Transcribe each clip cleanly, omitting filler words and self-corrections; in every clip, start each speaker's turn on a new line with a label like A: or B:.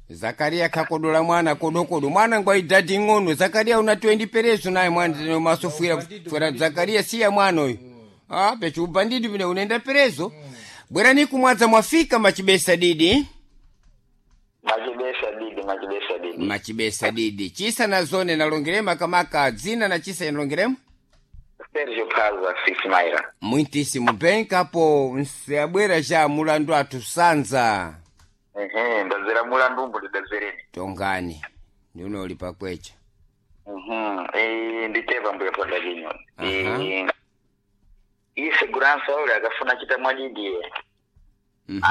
A: Zakaria kakodola mwana kodokodo mwana ngwa idadi ng'ono. Zakaria una 20 perezo naye mwana tene masofwira fwera Zakaria siya mwana uyu. Ah, pecho ubandidi vine unaenda perezo. Bwerani kumwadza mwafika machibesa didi.
B: Machibesa didi, machibesa didi.
A: Machibesa didi. Chisa na zone nalongerema kamaka dzina na chisa inalongerema.
B: Sergio Pazwa Sismaira.
A: Mwintisi mubenka apo nsabwera cha mulandu athu sanza.
B: Ehe, ndazera mulandu umbu ndidazereni.
A: Tongani. Ndiuno uli pakwecha.
B: Eh, nditepa mbuya ponda kinyo.
A: Aha.
B: Eh, iyi segurança ule akafuna chita mwadidi.
A: Mhm.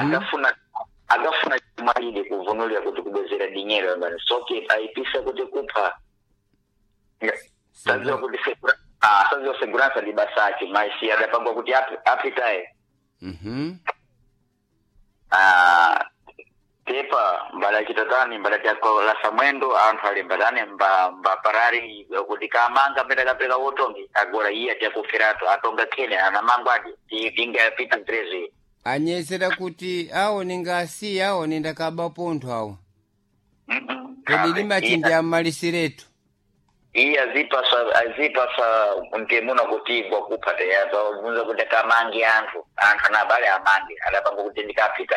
B: Akafuna mwadidi kuvunulia kuti kubwezera dinyero ngani soke aipisa kuti kupha. Saziwa kuti saziwa segurança ndi basaki maisi adapangwa kuti apitaye.
A: Mhm.
B: Ah, tepa mbala chitatani mbala chakolasa mwendo anthu ali mbatani mba parari kuti kamanga mbeta kapeka wotongi agora iye atiakuferato atonga khene anamangwa adi tingapita mtrezi.
A: Anyezera kuti awo ningasiya awo nindakaba pontho awo. Kodi limachindi amalisiretu.
B: Iye azipasa mtemuna kuti gwakupha teyapa ubvunza kuti akamange anthu anabale amange adapanga kuti ndikapita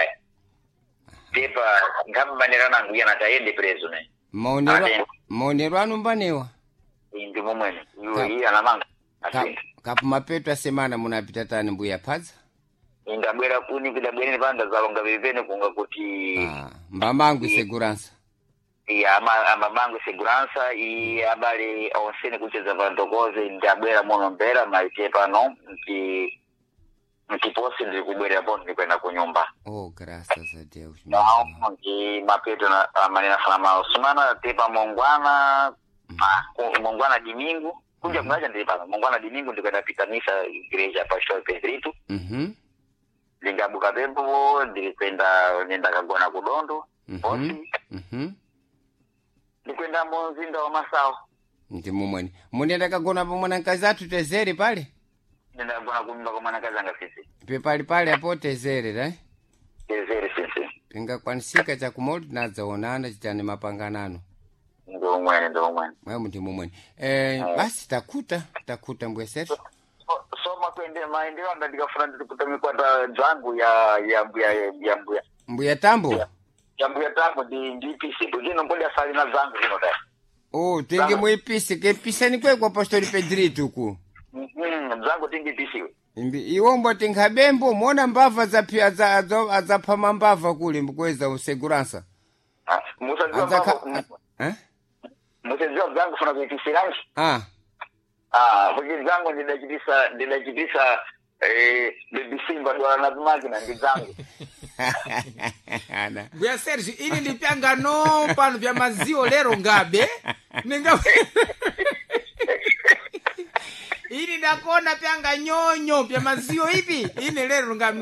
B: tepa nkhambanira nangu iyana tayende prezo ne.
A: Maonero
B: Ate.
A: maonero anu mbanewa.
B: Ndi momwene iwe iye anamanga asintha.
A: Kapu mapeto asemana munapita tani mbuya phadza.
B: Ingabwera kuni kudabwereni panda zalonga vivene kunga kuti.
A: Ah, mbamangu segurança.
B: Iya amamangu segurança i abale onsene kucheza vantokoze ndabwera muno mbera maite pano nti ntiposi ndiri kubwerera po ndikwenda kunyumba.
A: Oh, graças a Deus.
B: Não, nti mapeto amanena fana maosumana tepa mongwana mongwana dimingu kunja kunacha ndiri pano mongwana dimingu ndikwenda pita misa igreja Pastor Pedrito. Ndingabuka pembo ndirikwenda nendakagona kudondo posi ndikwenda muzinda wa Masawa.
A: Ndi mumweni. Munenda kagona pa mwanakazi athu tezere pale?
B: Ndendagona kunyumba kwa mwanakazi anga sisi.
A: Pepali pale apo tezere, right?
B: Tezere sisi.
A: Pingakwanisika chakumoti tinadzaonana chitani mapanganano.
B: Ndiomwene, ndiomwene.
A: Mwe ndi mumweni. Eh, basi takuta, takuta mbuya Sergio.
B: So makwende maendero anga ndikafuna ndikuta mikwata dzangu ya mbuya ya mbuya
A: Mbuya Tambo.
B: ya mbuya tangu ndi ndipisi bwino mbodi asali na dzangu zino ta.
A: Oh, tenge muipise, kepisani kwekwa Pastor Pedrito ku.
B: Dzangu tingipisiwe.
A: Imbi iwombo tinkhabembo mona mbava zaphi adzaphama mbava kule mbukweza useguransa.
B: Musadziwa
A: Adzakha
B: mbava
A: eh?
B: musadziwa dzangu funa kuipisiranji.
A: Ah,
B: Ah, kuti dzangu ndidachitisa baby Simba dwala na zimakina ndi dzangu.
A: Ana.
C: Mbuya Sergio, ini ndipyangano pano pya maziwo lero ngabe ninga ini ndakona pyanga nyonyo pya maziwo ipi ine lero ngabe.